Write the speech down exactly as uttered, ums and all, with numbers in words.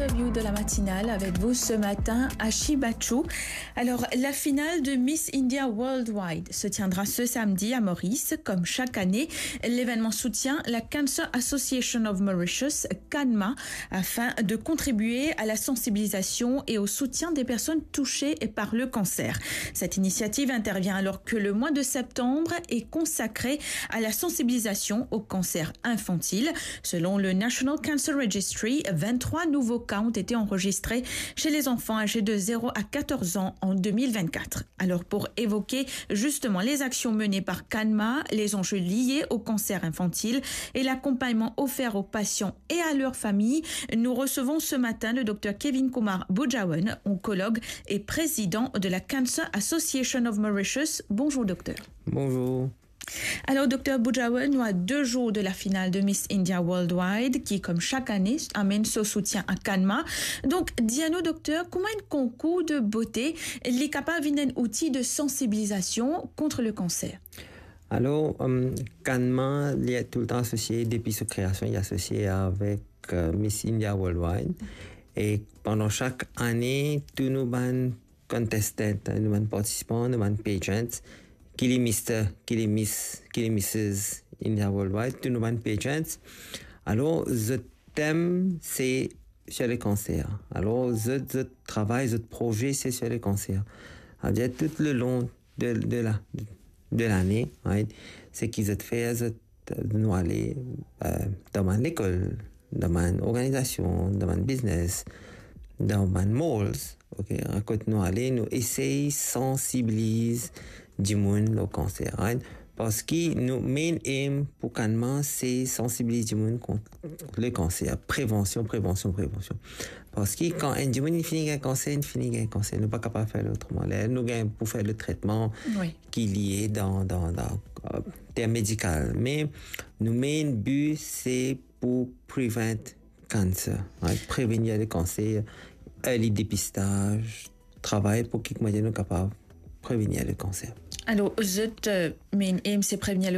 Interview de la matinale avec vous ce matin, Ashi Bachou. Alors, la finale de Miss India Worldwide se tiendra ce samedi à Maurice. Comme chaque année, l'événement soutient la Cancer Association of Mauritius, CANMA, afin de contribuer à la sensibilisation et au soutien des personnes touchées par le cancer. Cette initiative intervient alors que le mois de septembre est consacré à la sensibilisation au cancer infantile. Selon le National Cancer Registry, vingt-trois nouveaux cas ont été enregistrés chez les enfants âgés de zéro à quatorze ans en deux mille vingt-quatre. Alors, pour évoquer justement les actions menées par CANMA, les enjeux liés au cancer infantile et l'accompagnement offert aux patients et à leurs familles, nous recevons ce matin le docteur Kevin Kumar Bujawan, oncologue et président de la Cancer Association of Mauritius. Bonjour, docteur. Bonjour. Alors, docteur Bujawan, nou a de zour de la finale de Miss India Worldwide, ki, kouma sak ane, amenn so soutien a CANMA. Donk, dir anou, docteur, kouma enn konkour de bote, li kapav vinn enn outi de sensibilizasion kont le kanser? Alor, euh, CANMA, li toultan asosie, depi so kreasion, li asosie avek, euh, Miss India Worldwide. E pandan sak ane, tou nou bann contestant, nou bann partisipan, nou bann pageants, ki li Mister, ki li Miss, ki li Missus India Worldwide, tou nou bann pageants. Alor, zot tem se sur le cancer. Alor, zot, zot travay, zot proze, se sur le cancer. Savedir, tou le lon de, de la, de lane, right? Seki zot fer, zot, nou ale, euh, dan bann lekol, dan bann organizasion, dan bann biznes, dan bann malls, ok, kot nou ale, nou esey sansibiliz dimoun lor kanser, right? Parski nou main aim pou CANMA, se sansibiliz dimoun kont le kanser. Prevansion, prevansion, prevansion. Parski kan enn dimoun inn fini gagn kanser, inn fini gagn kanser. Nou pa kapav fer li otreman. Ler nou gagn pou fer le tretman, wi, ki lie dan, dan, dan, euh, term medikal. Me nou main bi, se pou prevent cancer, right? Prevenir le kanser, early depistaz, travay pou ki, kouma dir, nou kapav prevenir le kanser. Alor, zot, euh, main aim, se prevenir le